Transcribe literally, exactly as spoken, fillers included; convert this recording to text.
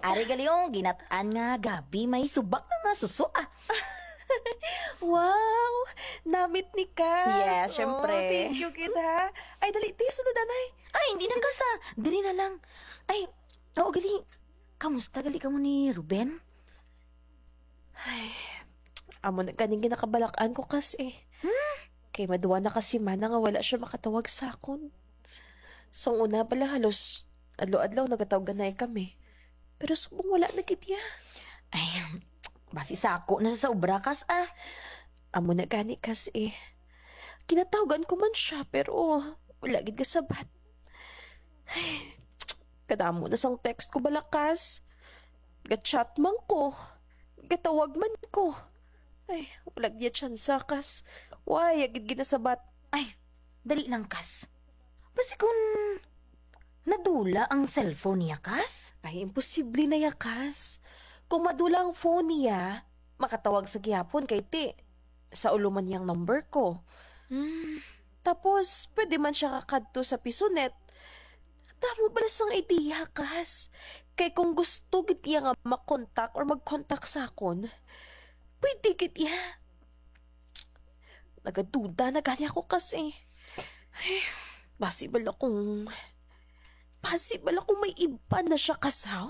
Ari gali, oh, ginat-an nga gabi, may subak na nga suso, ah. Wow! Namit ni Cas. Yes, Oh, syempre. Thank you, kid, ha? Ay, dali, ti, sunod, anay. Ay, hindi na, Cas, ah. Diri na lang. Ay, oo, gali. Kamusta gali kamo ni Ruben? Ay, amo na ganing ginakabalak-an ko, Cas, eh. Hmm? Kay maduwa na ka semana nga wala siya makatawag sa akon. Sang una pala, halos adlaw-adlaw nagatawganay kami. Pero subong wala na gid iya. Ay, basi sako na sa obra, Cas, ah. Amo na gani, Cas, eh. Ginatawgan ko man siya, pero wala gid kasabat. Ay, kadamo na sang text ko bala, Cas. Ga-chat man ko. Gatawag man ko. Ay, wala gid tsansa, Cas. Wala gid ginasabat. Ay, dali lang, Cas. Basi kung nadula ang cellphone niya, Cas? Ay, imposible na ya, Cas. Kung madula ang phone niya, makatawag sa gihapon kay ti, sa ulo man niyang number ko. Hmm. Tapos, pwede man siya kakadto sa Pisonet. Damo bala sang idea, Cas. Kay kung gusto gid iya nga makontak or magkontak sa akon, pwede gid iya. Nagaduda na gani ako, Cas, eh. Ay, basi bala kung, basi bala kung may iba na siya, Cas, ha?